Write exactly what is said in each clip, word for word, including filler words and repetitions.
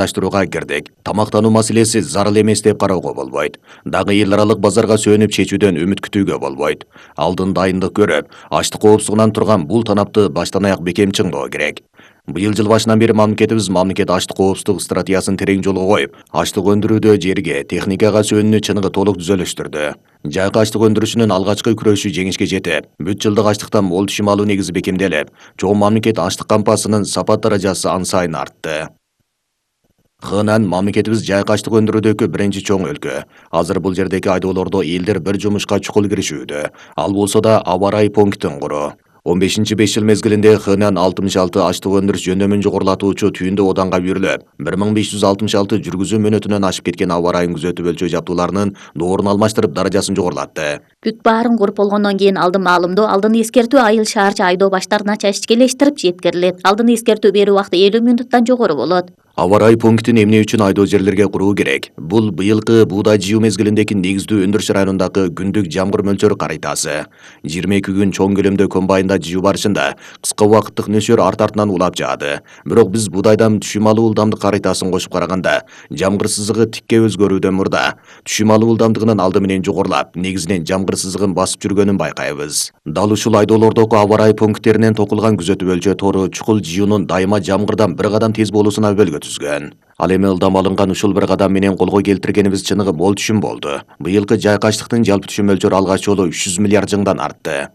Таштырууга кирдик. Тамактануу маселеси зарыл эмес деп кароого болбойт. Дагы эл аралык базарга сөнүп чечүүдөн үмүт күтүүгө болбойт. Алдын дайындык көрүп, ачлык коопсуздугунан турган бул танапты баштан аяк бекем чыңдоо керек. Быйыл жыл башынан бери мамлекетибиз мамлекет ачлык коопсуздук стратегиясын терең жолго коюп, ачлык өндүрүүдө жерге, техникага сөнүүнү чыныгы толук түзөлүштүрдү. Жайкы ачлык өндүрүшүнүн алгачкы күрөшү жеңишке жетип, бүт жылдык ачлыктан мол түшүм алуу негизи бекемделип, чоң мамлекет ачлык кампасынын сапат даражасы ан сайын артты. Хынан мамлекетибиз жайкы ачлык өндүрүүдөгү биринчи чоң өлкө. Азыр бул жердеги айдоолордо элдер бир жумушка чукул киришүүдө. Ал болсо да аба ырайы пунктин куруу. он бешинчи беш жыл мезгилинде Хынан алтымыш алты ачлык өндүрүш жөндөмүн жогорулатуучу түйүндө оданга үйрүлүп, бир миң беш жүз алтымыш алты жүргүзүү мөөнөтүнөн ашып кеткен аба ырайын күзөтүп өлчөө жабдууларынын доорун алмаштырып даражасын жогорулатты. Бүт баарын куруп болгондон кийин алдын маалымдоо, алдын эскертүү айыл шаарча айдоо баштарына чачкелештирип жеткирилет. Алдын эскертүү берүү убакыты элүү мүнуттан жогору болот. Аба ырайы пунктин эмне үчүн айдоо жерлерге куруу керек? Бул быйылкы буудай жыйуу мезгилиндеги негиздүү өндүрүш районундагы күндүк жамгыр мөлчөрү карайтасы. жыйырма эки күн чоң көлөмдө комбайнда жыйуу барышында кыска убакыттык нөсөр арт артынан улап жаады. Бирок биз буудайдан түшүм алуу ылдамдык карайтасын кошуп караганда, жамгыр сызыгы тикке өзгөрүүдөн мурда түшүм алуу ылдамдыгынын алды менен жогорулап, негизинен жамгыр сызыгын басып жүргөнүн байкайбыз. Дал ушул айдоолордогу аба ырайы пункттеринен токулган күзөтүп өлчөө тору чукул жыюунун дайыма жамгырдан бир кадам тез болуусуна өбөлгө түзгөн. Ал эми ылдам алынган ушул бир кадам менен колго келтиргенибиз чыныгы мол түшүм болду. Быйылкы жайкы ачлыктын жалпы түшүм мөлчөрү алгач жолу үч жүз миллиард жыңдан артты.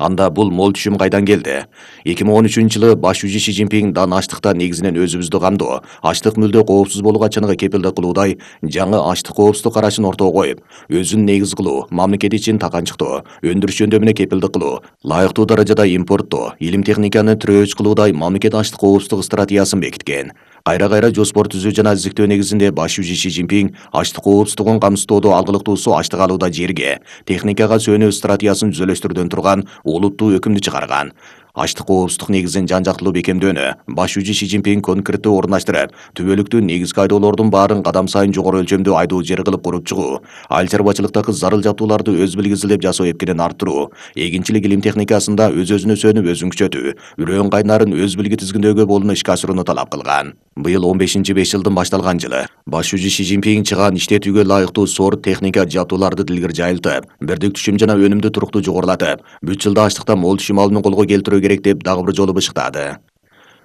Анда бул мол түшүм кайдан келди? эки миң он үчүнчү жылы баш жүзү Ши Цзиньпин дан ачлыкта негизинен өзүбүздү камдоо, ачлык мүлдө коопсуз болууга чыныгы кепилдик кылуудай жаңы ачлык коопсуздук карашын ортого коюп, өзүн негиз кылуу, мамлекет ичин таканчыктоо, өндүрүш жөндөмүнө кепилдик кылуу, лайыктуу даражада импорттоо, илим техниканы тирөөч кылуудай мамлекет ачлык коопсуздук стратегиясын бекиткен. Кайра-кайра жоспор түзүү жана изиктөө негизинде баш жүзү Ши Цзиньпин ачлык коопсуздугун камсыздоодо алгылыктуусу ачлык алууда жерге, техникага сөнүү стратегиясын түзөлүштүрүүдөн турган олуттуу өкүмдү чыгарган. Ачлык коопсуздук негизин жан-жактылуу бекемдөөнү баш жүзү Ши Цзиньпин конкреттүү орундаштырып, түбөлүктүү негизги айдоолордун баарын кадам сайын жогору өлчөмдүү айдоо жер кылып куруп чыгуу, айыл чарбачылыктагы зарыл жабдууларды өз билгисиздеп жасоо эпкинин арттыруу, эгинчилик илим техникасында өз-өзүнө сөнүп өзүн күчөтүү, үрөөн кайнарын өз билги тизгиндөөгө болуну ишке ашырууну талап кылган. Быйыл он бешинчи беш жылдын башталган жылы. Баш жүзү Ши Цзиньпин чыгаан иштетүүгө лайыктуу сорт техника жабдууларды дилгир жайылтып, бирдик түшүм жана өнүмдү туруктуу жогорулатып, бүт жылда ачлыктан мол түшүм алууну колго келтирүү керек деп дагы бир жолу бышыктады.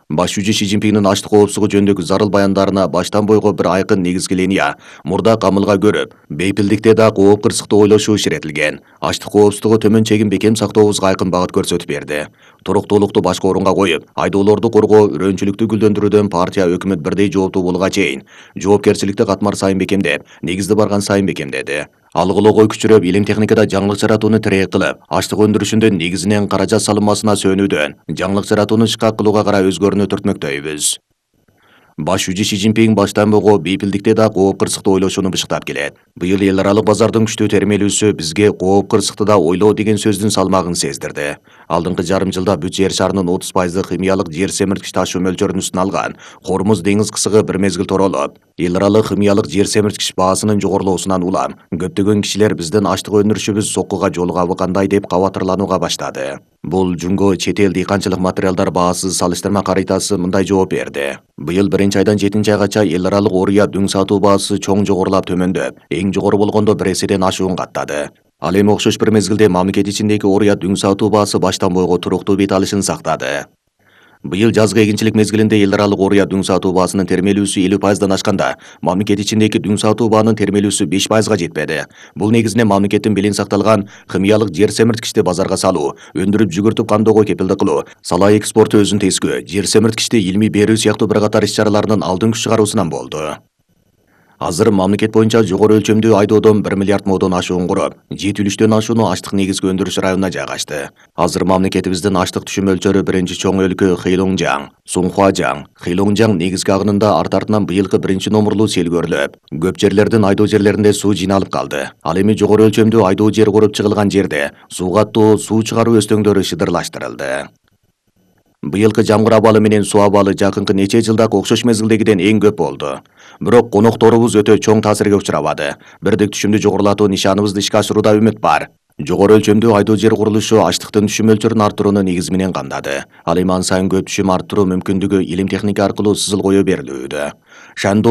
Баш жүзү Ши Цзиньпиндин ачлык коопсуздугу жөнүндөгү зарыл баяндарына баштан бойго бир айкын негизги линия, мурда камылга көрүп, бейпилдикте да кооп кырсыктуу ойлошуу ишаретилген. Ачлык коопсуздугу төмөн чегин бекем сактообузга айкын багыт көрсөтүп берди. Туруктуулукту башкы орунга коюп, айдоолорду коргоо, үрөөнчүлүктү гүлдөндүрүүдөн партия өкмөт бирдей жооптуу болууга чейин жоопкерчиликти катмар сайын бекемдеп, негизди барган сайын бекемдеди. Алгылоого күчүрөп, илим техникада жаңылык жаратууну тирек кылып, ачлык өндүрүшүндө негизинен каражат салынмасына сөнүүдөн, жаңылык жаратууну ишкак кылууга карай өзгөрүүнү түртмөктөйбүз. Баш жүзү Ши Цзиньпин баштан бойго бейпилдикте да кооп кырсыктуу ойлошууну бышыктап келет. Быйыл эл аралык базардын күчтүү термелүүсү бизге кооп кырсыкты да ойлоо деген сөздүн салмагын сездирди. Алдыңкы жарым жылда бүт жер шарынын отуз пайызы химиялык жер семирткич ташуу мөлчөрүнүн үстүнө алган Хормуз деңиз кысыгы бир мезгил торолуп, эл аралык химиялык жер семирткич баасынын жогорулоосунан улам көптөгөн кишилер биздин ачлык өндүрүшүбүз соккуга жолугабы кандай деп кабатырланууга баштады. Бул жунго чет эл дыйканчылык материалдар баасы салыштырма карайтасы мындай жооп берди. Быйыл биринчи айдан жетинчи айгача эл аралык оруя дүң сатуу баасы чоң жогорулап төмөндөп, эң жогору болгондо бир эседен ашуун каттады. Ал эми окшош бир мезгилде мамлекет ичиндеги оруя дүң сатуу баасы баштан бойго туруктуу бет алышын сактады. Быйыл жазгы эгинчилик мезгилинде эл аралык оруя дүң сатуу баасынын термелүүсү элүү пайыздан ашканда, мамлекет ичиндеги дүң сатуу баанын термелүүсү беш пайызга жетпеди. Бул негизинен мамлекеттин белин сакталган химиялык жер семирткичти базарга салуу, өндүрүп жүгүртүп камдоого кепилдик кылуу, сала экспорту өзүн тескөө, жер семирткичти илимий берүү сыяктуу бир катар иш-чараларынын алдын күч чыгаруусунан болду. Азыр мамлекет боюнча жогору өлчөмдүү айдоодон бир миллиард модон ашуун куруп, жети үлүштөн ашууну ачлык негизги өндүрүш районуна жайгашты. Азыр мамлекетибиздин ачлык түшүм мөлчөрү биринчи чоң өлкө Хэйлоңжаң, Сунхуажаң, Хэйлоңжаң негизги агынында арт-артынан быйылкы биринчи номурлуу сел көрүлүп, көп жерлердин айдоо жерлеринде суу жыйналып калды. Ал эми жогору өлчөмдүү айдоо жер куруп чыгылган жерде суу каттоо, суу чыгаруу өстөңдөрү шыдырлаштырылды. Быйылкы жамгыр абалы менен суу абалы жакынкы нече жылдагы окшош мезгилдегиден эң көп болду. Бирок конокторубуз өтө чоң таасирге учурабады. Бирдик түшүмдү жогорулатуу нишаныбызды ишке ашырууда үмүт бар. Жогору өлчөмдүү айдоо жер курулушу ачлыктын түшүм мөлчөрүн арттырууну негизи менен камдады. Ал эми ан сайын көп түшүм арттыруу мүмкүндүгү илим техника аркылуу сызыл кое берилүүдө. Шандон